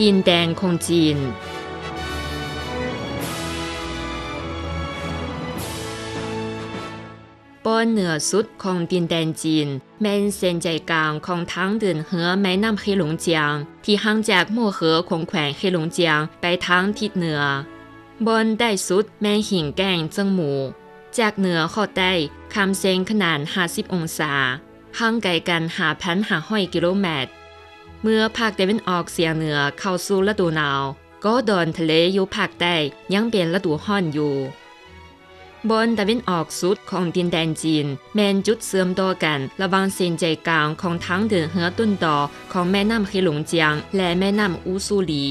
ດິນແດນຂອງຈີນ. ບ່ອນເໜືອສຸດຂອງດິນແດນຈີນ ແມ່ນເສັ້ນໃຈກາງຂອງທາງເດີນເຮືອແມ່ນ້ຳເຄຫຼົງຈຽງ ທີ່ຫ່າງຈາກໂມເຫີຂອງແຂວງເຄຫຼົງຈຽງໄປທາງທິດເໜືອ. ບ່ອນໃຕ້ສຸດແມ່ນຫິງແກ້ງເຈີງໝູ. ຈາກເໜືອເຂົ້າໃຕ້ ຂ້າມເສັ້ນຂະໜານຫ້າສິບອົງສາ, ຫ່າງໄກກັນຫ້າພັນຫ້າຮ້ອຍກິໂລແມັດ. ເມື່ອພາກຕາເວັນອອກສຽງເໜືອເຂົ້າສູ່ລະດູໜາວ, ກໍດອນທະເລຢູ່ພາກໃຕ້ຍັງເປັນລະດູຮ້ອນຢູ່. ບ່ອນຕາເວັນອອກສຸດຂອງດິນແດນຈີນ ແມ່ນຈຸດເຊື່ອມຕໍ່ກັນລະຫວ່າງເສັ້ນໃຈກາງຂອງທາງເດີນເຮືອຕົ້ນຕໍຂອງແມ່ນ້ຳເຄຫຼົງຈຽງ ແລະ ແມ່ນ້ຳອູຊູລີ.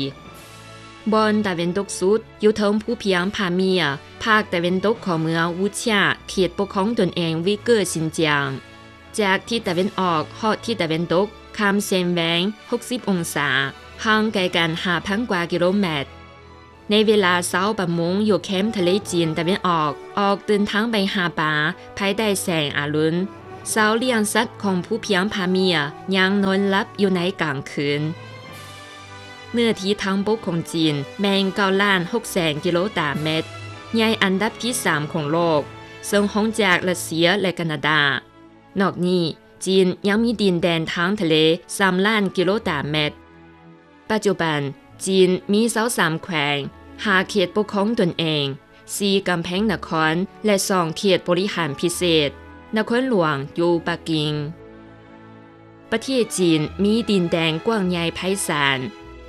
ບ່ອນຕາເວັນຕົກສຸດ ຢູ່ເທິງພູພຽງຜາເມຍ, ພາກຕາເວັນຕົກຂອງເມືອງອູເຊຍ, ເຂດປົກຄອງຕົນເອງວິກເກີຊິນຈຽງ. ຈາກທິດຕາເວັນອອກຮອດທິດຕາເວັນຕົກ ຂ້າມເສັ້ນແຫວງຫົກສິບອົງສາ, ຫ່າງໄກກັນຫ້າພັນກວ່າກິໂລແມັດ. ໃນເວລາຊາວປະມົງຢູ່ແຄມທະເລຈີນຕາເວັນອອກ ອອກເດີນທາງໄປຫາປາພາຍໃຕ້ແສງອາລຸນ. ຊາວລ້ຽງສັດຂອງພູພຽງຜາເມຍຍັງນອນຫຼັບຢູ່ໃນກາງຄືນ. ເນື້ອທີ່ທາງບົກຂອງຈີນແມ່ນເກົ້າລ້ານຫົກແສນກິໂລຕາແມັດ, ໃຫຍ່ອັນດັບທີສາມຂອງໂລກ, ເຊິ່ງຮອງຈາກຣັດເຊຍ ແລະ ການາດາ. ນອກນີ້, ຈີນຍັງມີດິນແດນທາງທະເລສາມລ້ານກິໂລຕາແມັດ. ປັດຈຸບັນ, ຈີນມີຊາວສາມແຂວງ, ຫ້າເຂດປົກຄອງຕົນເອງ, ສີ່ກຳແພງນະຄອນ ແລະ ສອງເຂດບໍລິຫານພິເສດ. ນະຄອນຫຼວງຢູ່ປັກກິ່ງ. ປະເທດຈີນມີດິນແດນກວ້າງໃຫຍ່ໄພສານ,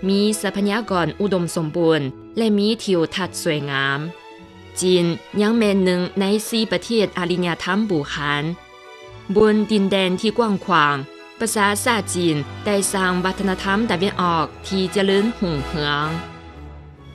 ມີຊັບພະຍາກອນອຸດົມສົມບູນ ແລະ ມີທິວທັດສວຍງາມ. ຈີນຍັງແມ່ນໜຶ່ງໃນສີ່ປະເທດອາລິຍະທຳບູຮານ. ບົນດິນແດນທີ່ກວ້າງຂວາງ, ປະຊາຊາດຈີນໄດ້ສ້າງວັດທະນະທຳຕາເວັນອອກທີ່ຈະເລີນຮຸ່ງເຮືອງ.